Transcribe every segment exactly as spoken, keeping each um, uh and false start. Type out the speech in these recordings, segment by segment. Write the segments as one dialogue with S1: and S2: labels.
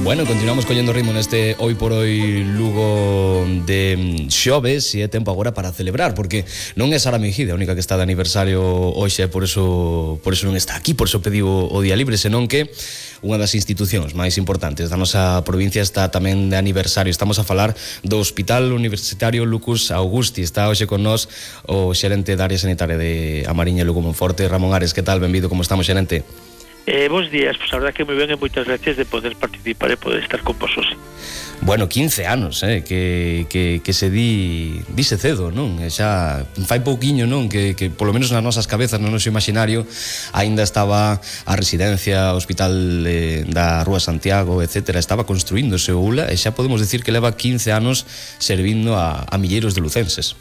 S1: Bueno, continuamos collendo ritmo neste Hoy por Hoy Lugo de xoves e é tempo agora para celebrar, porque non é Sara Mejide a única que está de aniversario hoxe, por eso por eso non está aquí, por eso pediu o día libre, senón que unha das institucións máis importantes da nosa provincia está tamén de aniversario. Estamos a falar do Hospital Universitario Lucus Augusti. Está hoxe con nós o xerente da área sanitaria de A Mariña e Lugo Monforte, Ramón Ares. Que tal? Benvido, como estamos, xerente?
S2: Eh, bons días, pois pues, a verdad que moi ben e moitas gracias de poder participar e poder estar con vos hoxe.
S1: Bueno, quince anos, eh, que, que, que se di dise cedo, non? E xa fai pouquiño, non? Que, que polo menos nas nosas cabezas, no noso imaginario, aínda estaba a residencia, o hospital eh, da Rúa Santiago, etcétera, estaba construíndose o U L A, e xa podemos dicir que leva quince anos servindo a, a milleiros de lucenses.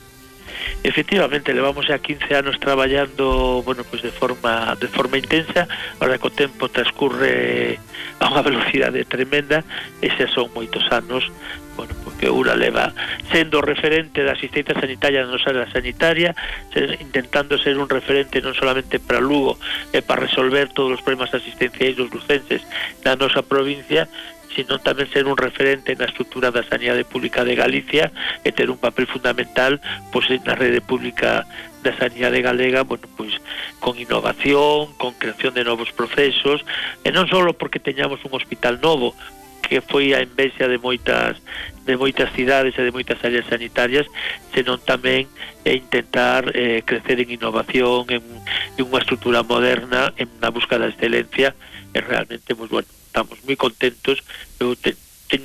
S2: Efectivamente, levamos xa quince anos traballando, bueno, pues de forma de forma intensa. Ahora que o tempo transcurre a unha velocidade tremenda, e xa son moitos anos, bueno, porque o U L A leva sendo referente da asistencia sanitaria na nosa área sanitaria, intentando ser un referente non solamente para Lugo e para resolver todos os problemas asistenciais dos lucenses na nosa provincia, sino tamén ser un referente na estrutura da sanidade pública de Galicia e ter un papel fundamental pois na rede pública da sanidade galega, bueno, pois con innovación, con creación de novos procesos, e non só porque teñamos un hospital novo, que foi a envexa de moitas de moitas cidades e de moitas áreas sanitarias, senón tamén é intentar eh, crecer en innovación, en, en unha estrutura moderna, en na busca da excelencia, e realmente, pues, bueno, estamos moi contentos. Eu te, te,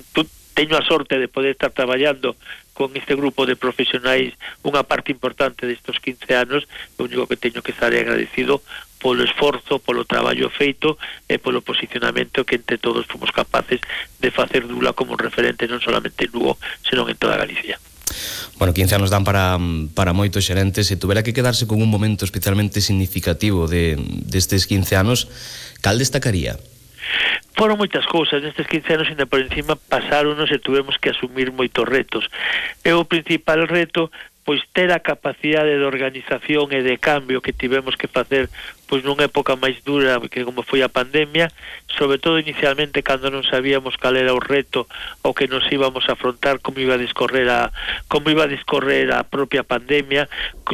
S2: teño a sorte de poder estar traballando con este grupo de profesionais unha parte importante destes quince anos. O único que teño que estar agradecido polo esforzo, polo traballo feito e polo posicionamento que entre todos fomos capaces de facer do U L A como referente non solamente en Lugo, senón en toda Galicia.
S1: Bueno, quince anos dan para, para moitos xerentes. Se tuvera que quedarse con un momento especialmente significativo de, destes quince anos, cal destacaría?
S2: Foron moitas cousas, nestes quince anos ainda por encima pasáronos e tuvemos que asumir moitos retos. E o principal reto, pois ter a capacidade de organización e de cambio que tivemos que facer pois nunha época máis dura que como foi a pandemia, sobre todo inicialmente cando non sabíamos cal era o reto o que nos íbamos a afrontar, como iba a discorrer a como iba a discorrer a propia pandemia,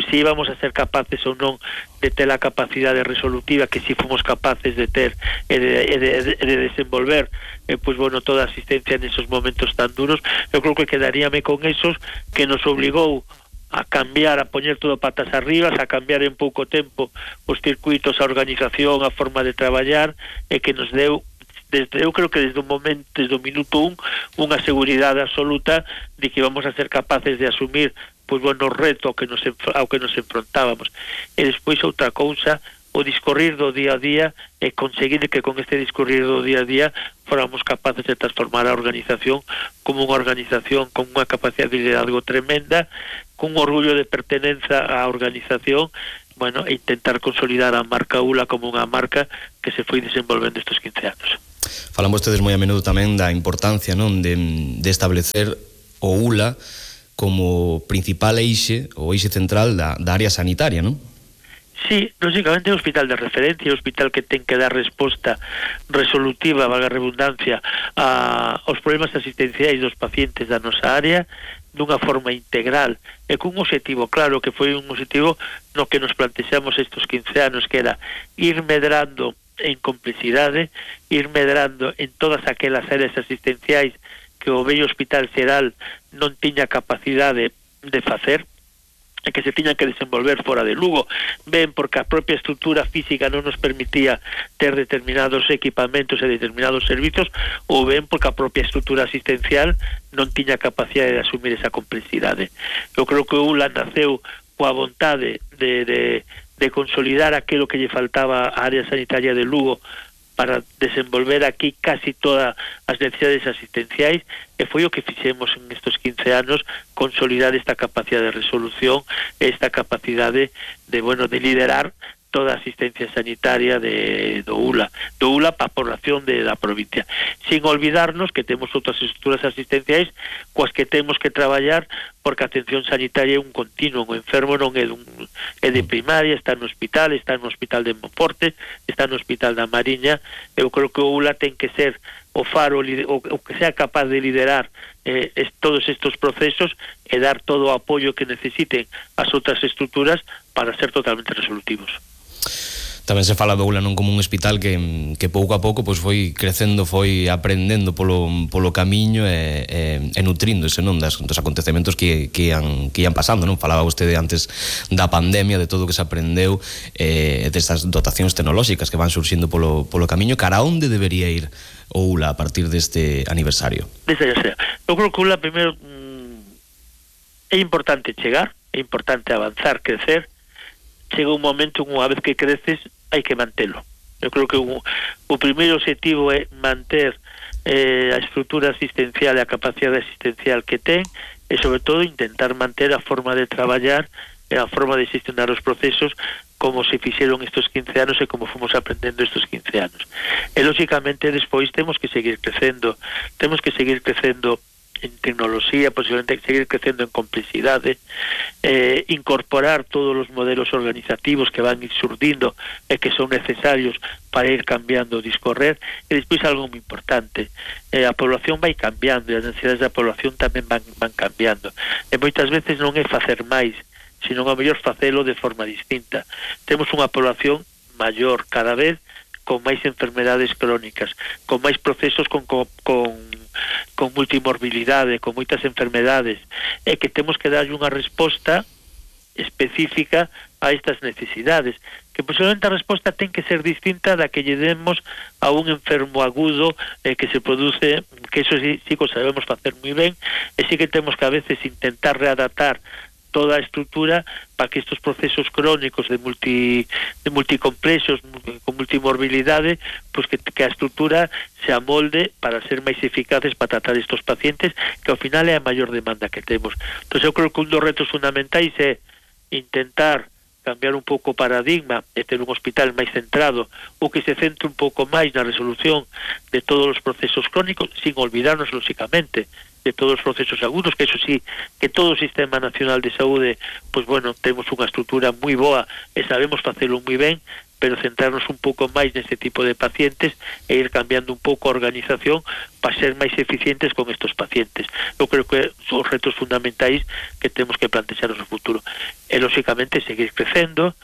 S2: se íbamos a ser capaces ou non de ter a capacidade resolutiva que si fomos capaces de ter e de, e de, de, de desenvolver eh, pois bueno, toda a asistencia nesos momentos tan duros. Eu creo que quedaríame con esos que nos obligou a cambiar, a poñer todo patas arriba, a cambiar en pouco tempo os circuitos, a organización, a forma de traballar, e que nos deu, desde, eu creo que desde o momento, desde o minuto un, unha seguridade absoluta de que vamos a ser capaces de asumir pois bueno, o reto ao que nos, ao que nos enfrontábamos. E despois outra cousa, o discorrir do día a día, e conseguir que con este discorrir do día a día fóramos capaces de transformar a organización como unha organización con unha capacidade de liderazgo tremenda, con un orgullo de pertenenza á organización, bueno, e intentar consolidar a marca U L A como unha marca que se foi desenvolvendo estes quince anos.
S1: Falan vostedes moi a menudo tamén da importancia, non, de, de establecer o U L A como principal eixe, o eixe central da, da área sanitaria, non?
S2: Sí, lógicamente é un hospital de referencia, un hospital que ten que dar resposta resolutiva, valga a redundancia, a, aos problemas asistenciais dos pacientes da nosa área, dunha forma integral e cun objetivo claro, que foi un objetivo no que nos plantexamos estes quince anos, que era ir medrando en complexidade, ir medrando en todas aquelas áreas asistenciais que o vello Hospital Xeral non tiña capacidade de facer, e que se tiñan que desenvolver fora de Lugo, ben porque a propia estrutura física non nos permitía ter determinados equipamentos e determinados servizos, ou ben porque a propia estrutura asistencial non tiña capacidade de asumir esa complexidade. Eu creo que o U L A naceu coa vontade de, de, de consolidar aquilo que lle faltaba á área sanitaria de Lugo para desenvolver aquí casi todas as necesidades asistenciais, e foi o que fixemos en estes quince anos, consolidar esta capacidade de resolución, esta capacidade de, bueno, de liderar toda a asistencia sanitaria de, do U L A, do U L A para a población de, da provincia. Sin olvidarnos que temos outras estruturas asistenciais coas que temos que traballar, porque a atención sanitaria é un continuo, o enfermo non é, dun, é de primaria, está no hospital, está no hospital de Monforte, está no hospital da Mariña. Eu creo que o U L A ten que ser o faro, o, o que sea capaz de liderar eh, es, todos estos procesos e dar todo o apoio que necesiten as outras estruturas para ser totalmente resolutivos.
S1: Tamén se fala do Ula non como un hospital que, que pouco a pouco pois foi crecendo, foi aprendendo polo, polo camiño e, e, e nutríndose, non, das, dos acontecementos que, que, ian, que ian pasando, non? Falaba vostede antes da pandemia, de todo o que se aprendeu, e eh, destas dotacións tecnolóxicas que van surxindo polo, polo camiño. Cara onde debería ir o Ula a partir deste aniversario?
S2: Desde xa sea. Eu creo que o Ula, primeiro, mm, é importante chegar, é importante avanzar, crecer. Chega un momento, unha vez que creces, hai que mantelo. Eu creo que o, o primeiro objetivo é manter eh, a estrutura asistencial e a capacidade asistencial que ten e, sobre todo, intentar manter a forma de traballar e a forma de gestionar os procesos como se fixeron estes quince anos e como fomos aprendendo estes quince anos. E, lógicamente, despois temos que seguir crecendo. Temos que seguir crecendo en tecnoloxía, posiblemente seguir crecendo en complexidade, eh, incorporar todos os modelos organizativos que van ir surdindo e que son necesarios para ir cambiando o discorrer. E despois algo moi importante, eh, a población vai cambiando e as necesidades da población tamén van, van cambiando, e moitas veces non é facer máis, sino a mellor facelo de forma distinta. Temos unha población maior cada vez, con máis enfermedades crónicas, con máis procesos con, con, con con multimorbilidade, con moitas enfermedades, e que temos que darlle unha resposta específica a estas necesidades, que posiblemente a resposta ten que ser distinta da que lle demos a un enfermo agudo eh, que se produce, que eso sí, sí que sabemos facer moi ben, e sí que temos que a veces intentar readaptar toda a estrutura para que estos procesos crónicos de multi de multicomplexos con multimorbilidade, pues que, que a estrutura se amolde para ser máis eficaces para tratar estos pacientes, que ao final é a maior demanda que temos. Entón eu creo que un dos retos fundamentais é intentar cambiar un pouco o paradigma e ter un hospital máis centrado, ou que se centre un pouco máis na resolución de todos os procesos crónicos, sin olvidarnos, lógicamente, de todos os procesos agudos, que eso sí, que todo o Sistema Nacional de Saúde, pues bueno, temos unha estrutura moi boa e sabemos facelo moi ben, pero centrarnos un pouco máis neste tipo de pacientes e ir cambiando un pouco a organización para ser máis eficientes con estos pacientes. Eu creo que son os retos fundamentais que temos que plantexar no futuro. E, lógicamente, seguir crecendo,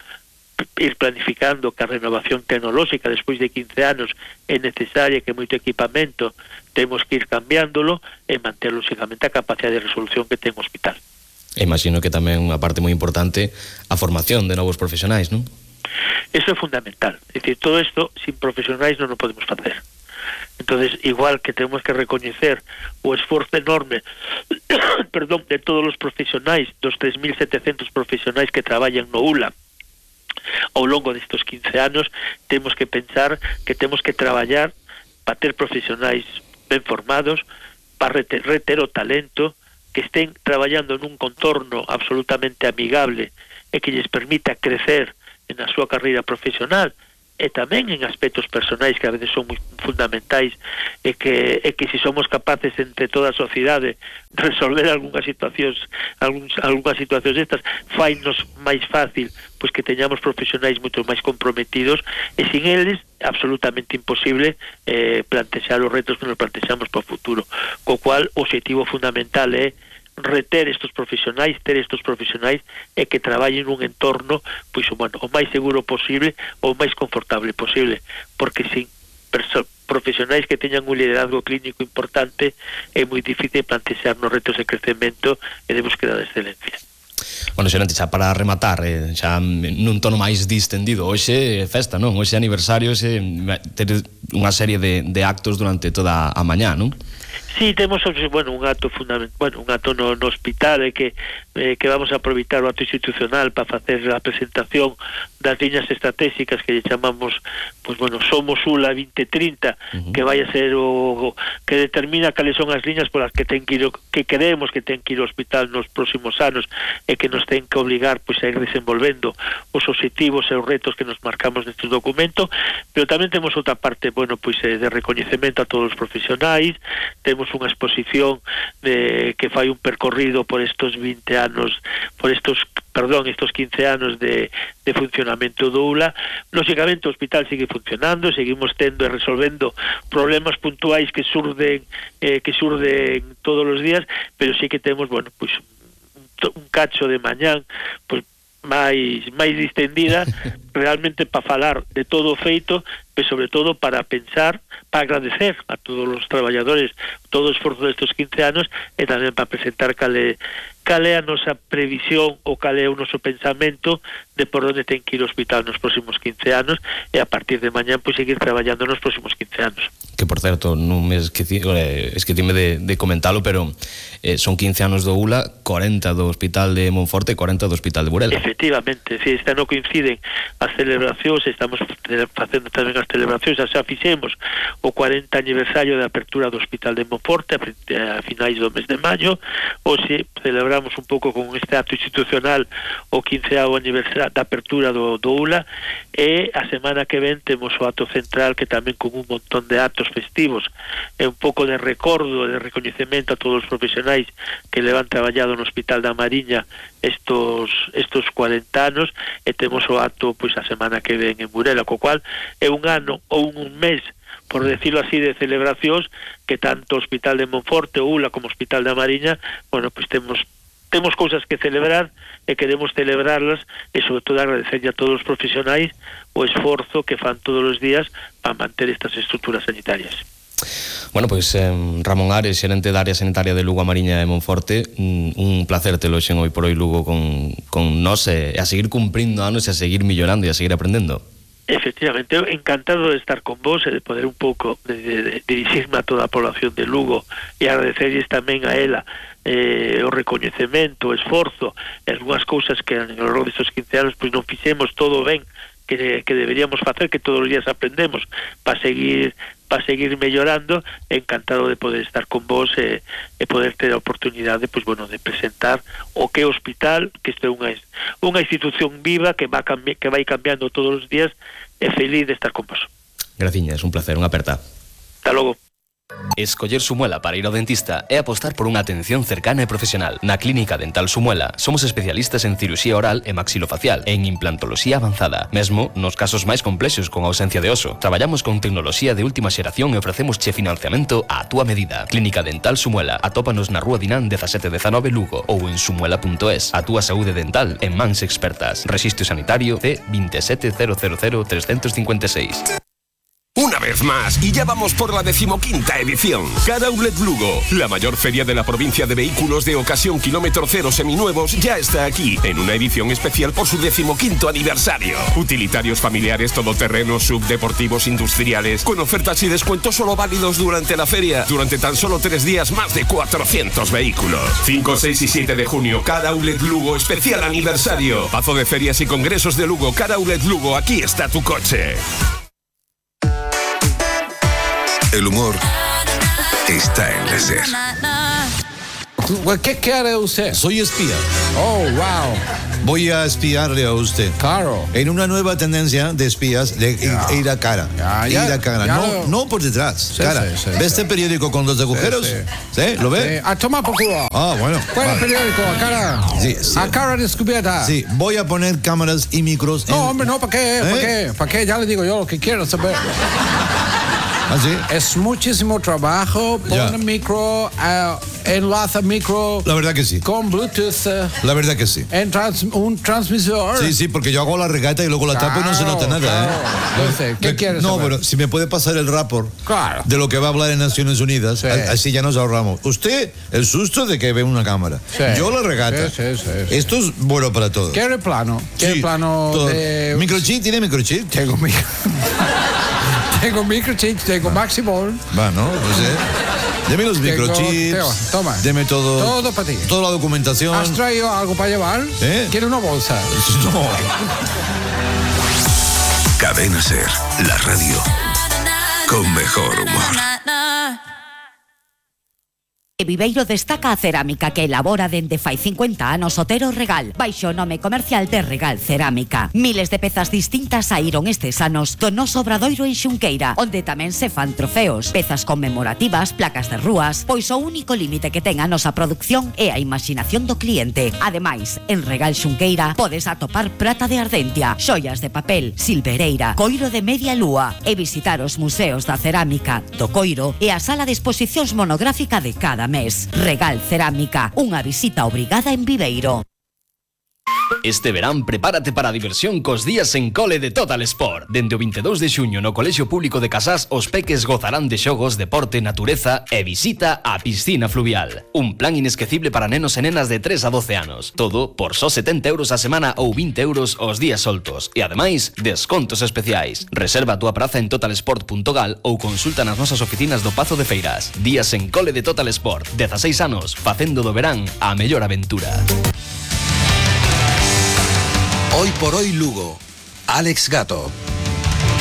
S2: ir planificando que a renovación tecnolóxica despois de quince anos é necesaria, que moito equipamento temos que ir cambiándolo e manter, lógicamente, a capacidade de resolución que ten o hospital.
S1: Imagino que tamén unha parte moi importante a formación de novos profesionais, non?
S2: Eso é fundamental. É dicir, todo isto sin profesionais non o podemos facer. Entonces, igual que temos que recoñecer o esforzo enorme perdón, de todos os profesionais, dos tres mil setecentos profesionais que traballan no Ula ao longo destes quince anos, temos que pensar que temos que traballar para ter profesionais ben formados, para reter, reter o talento, que estén traballando nun contorno absolutamente amigable e que lles permita crecer na súa carreira profesional e tamén en aspectos personais que a veces son moi fundamentais, e que, e que se somos capaces entre toda a sociedade resolver algunhas situacións algúns, algunhas situacións estas, fainos máis fácil pois que teñamos profesionais moito máis comprometidos, e sin eles absolutamente imposible eh, plantexar os retos que nos plantexamos para o futuro, co cual o objetivo fundamental é reter estos profesionais, ter estos profesionais e que traballen nun entorno pois, bueno, o máis seguro posible ou o máis confortable posible, porque sin profesionais que teñan un liderazgo clínico importante é moi difícil plantexar nos retos de crecemento e de búsqueda de excelencia.
S1: Bueno, xerente, xa para rematar, eh, xa nun tono máis distendido, hoxe festa, non? Hoxe aniversario, hoxe ter unha serie de, de actos durante toda a mañá, non?
S2: Sí, temos, bueno, un acto fundamental, bueno, un acto no, no hospital eh, que eh, que vamos a aproveitar o acto institucional para facer a presentación das liñas estratégicas que lle chamamos, pues bueno, Somos Ula vinte trinta, uh-huh. que vai a ser o, o que determina cales son as liñas polas que ten que ir, que creemos que ten que ir ao hospital nos próximos anos e que nos ten que obligar pois a ir desenvolvendo os obxectivos e os retos que nos marcamos neste documento, pero tamén temos outra parte, bueno, pois eh, de recoñecemento a todos os profesionais, temos temos unha exposición de, que fai un percorrido por estos vinte anos, por estos, perdón, estos quince anos de, de funcionamento do U L A. Lógicamente o hospital sigue funcionando, seguimos tendo e resolvendo problemas puntuais que surden eh, que surden todos os días, pero sí que temos, bueno, pois un, un cacho de mañán, pois máis máis distendida realmente para falar de todo o feito, pero sobre todo para pensar, para agradecer a todos os traballadores todo o esforzo destes quince anos e tamén para presentar cale, cale a nosa previsión ou cale o noso pensamento de por onde ten que ir o hospital nos próximos quince anos e a partir de mañán pois seguir traballando nos próximos quince anos.
S1: Que, por certo, non me esqueci, eh, esquecime de, de comentalo, pero eh, son quince anos do U L A, corenta do Hospital de Monforte e corenta do Hospital de Burela.
S2: Efectivamente, si este ano coinciden as celebracións, estamos facendo tamén as celebracións, xa fixemos o cuarenta aniversario de apertura do Hospital de Monforte a, a finais do mes de maio, ou se celebramos un pouco con este acto institucional o quinceavo aniversario da apertura do, do U L A, e a semana que ven temos o acto central que tamén con un montón de actos festivos e un pouco de recordo, de recoñecemento a todos os profesionais que levan traballado no Hospital da Mariña estos estos cuarenta anos, e temos o acto pois a semana que ven en Burela, co cual é un ano ou un mes, por decirlo así, de celebracións que tanto o Hospital de Monforte, o U L A como o Hospital da Mariña, bueno, pois temos temos cousas que celebrar e queremos celebrarlas, e sobre todo agradecerlle a todos os profesionais o esforzo que fan todos os días para manter estas estruturas sanitarias.
S1: Bueno, pois pues, eh, Ramón Ares, xerente da área sanitaria de Lugo, a Mariña e Monforte, un, un placer telo xen hoy por hoy Lugo con, con nós, e a seguir cumprindo anos e a seguir millorando e a seguir aprendendo.
S2: Efectivamente, eu encantado de estar con vos e de poder un pouco de, de, de dirixirme a toda a población de Lugo e agradecerles tamén a ela eh, o recoñecemento, o esforzo e algunhas cousas que ao longo destes quince anos pois non fixemos todo ben que, que deberíamos facer, que todos os días aprendemos para seguir para seguir mellorando. Encantado de poder estar con vos e, e poder ter a oportunidade pois, bueno, de presentar o que é o hospital, que isto é unha, unha institución viva que, va cambi- que vai cambiando todos os días, e feliz de estar con vos.
S1: Graciñas, un placer, unha aperta.
S2: Hasta logo.
S1: Escoller Sumuela para ir ao dentista é apostar por unha atención cercana e profesional. Na Clínica Dental Sumuela somos especialistas en cirurxía oral e maxilofacial e en implantoloxía avanzada, mesmo nos casos máis complexos con ausencia de oso. Traballamos con tecnoloxía de última xeración e ofrecemos che financiamento á túa medida. Clínica Dental Sumuela. Atópanos na Rúa Dinán dezasete dezanove Lugo ou en sumuela punto es. A túa saúde dental en mans expertas. Rexistro sanitario C veinte e sete cero cero cero trescentos cincuenta e seis.
S3: Una vez más, y ya vamos por la decimoquinta edición. Car Outlet Lugo, la mayor feria de la provincia de vehículos de ocasión kilómetro cero seminuevos, ya está aquí, en una edición especial por su decimoquinto aniversario. Utilitarios familiares, todoterrenos, subdeportivos, industriales, con ofertas y descuentos solo válidos durante la feria. Durante tan solo tres días, más de cuatrocientos vehículos. cinco, seis y siete de junio, Car Outlet Lugo, especial aniversario. Pazo de ferias y congresos de Lugo, Car Outlet Lugo, aquí está tu coche.
S4: El humor está en la SER.
S5: ¿Qué quiere usted?
S6: Soy espía.
S5: Oh, wow.
S6: Voy a espiarle a usted.
S5: Claro.
S6: En una nueva tendencia de espías, de
S5: Ya.
S6: ir a cara.
S5: Ya,
S6: ir
S5: ya,
S6: a cara.
S5: ya
S6: No,
S5: lo-
S6: no por detrás.
S5: Sí,
S6: cara.
S5: sí, sí,
S6: ¿Ve
S5: sí.
S6: este periódico con los agujeros?
S5: Sí,
S6: ¿Sí? ¿Lo ve?
S5: Eh, a tomar por culo.
S6: Ah, bueno.
S5: ¿Cuál es el
S6: vale.
S5: periódico? A cara.
S6: Sí, sí.
S5: A cara descubierta.
S6: Sí, voy a poner cámaras y micros.
S5: No,
S6: en-
S5: hombre, no, ¿para qué? ¿Para
S6: ¿Eh?
S5: qué? ¿Para qué? Ya le digo yo lo que quiero saber.
S6: ¿Ah, sí?
S5: Es muchísimo trabajo.
S6: Ya.
S5: Pone micro, eh, enlaza micro
S6: La verdad que sí.
S5: con Bluetooth, eh,
S6: La verdad que sí.
S5: en trans- un transmisor.
S6: Sí, sí, porque yo hago la regata y luego la tapo y no se nota nada,
S5: claro.
S6: ¿eh?
S5: Entonces, ¿qué
S6: Me-
S5: quieres
S6: No,
S5: saber?
S6: pero si me puede pasar el rapport
S5: Claro.
S6: de lo que va a hablar en Naciones Unidas,
S5: Sí.
S6: a- así ya nos ahorramos. Usted, el susto de que ve una cámara.
S5: Sí.
S6: Yo la regata.
S5: Sí, sí, sí, sí.
S6: Esto es bueno para todos.
S5: ¿Quiere plano? ¿Quiere
S6: Sí,
S5: plano
S6: todo.
S5: de...
S6: ¿Microchip? ¿Tiene microchip?
S5: Tengo micro... tengo microchip, tengo Maximol.
S6: Va, ¿no? No sé. Deme los
S5: Tengo-
S6: microchips.
S5: toma, toma.
S6: Deme todo.
S5: Todo para ti.
S6: Toda la documentación.
S5: ¿Has traído algo para llevar?
S6: ¿Eh?
S5: ¿Quiere una bolsa?
S6: No.
S4: Cadena SER, la radio con mejor humor.
S7: E Viveiro destaca a cerámica que elabora dende fai cincuenta anos Otero Regal, baixo o nome comercial de Regal Cerámica. Miles de pezas distintas saíron estes anos do noso obradoiro en Xunqueira, onde tamén se fan trofeos, pezas conmemorativas, placas de rúas, pois o único límite que ten a nosa produción é a imaginación do cliente. Ademais, en Regal Xunqueira podes atopar prata de Ardentia, xoias de papel, silvereira, coiro de media lúa e visitar os museos da cerámica, do coiro e a sala de exposicións monográfica de cada mes. Regal Cerámica, unha visita obrigada en Viveiro.
S1: Este verán prepárate para a diversión cos días en cole de Total Sport. Dende o veintidós de xuño no Colexio Público de Casás os peques gozarán de xogos, deporte, natureza e visita á piscina fluvial. Un plan inesquecible para nenos e nenas de tres a doce anos. Todo por só setenta euros a semana ou vinte euros os días soltos. E ademais, descontos especiais. Reserva a túa praza en totalsport punto gal ou consulta nas nosas oficinas do Pazo de Feiras. Días en cole de Total Sport. dezaseis anos, facendo do verán a mellor aventura.
S4: Hoy por hoy Lugo. Alex Gato.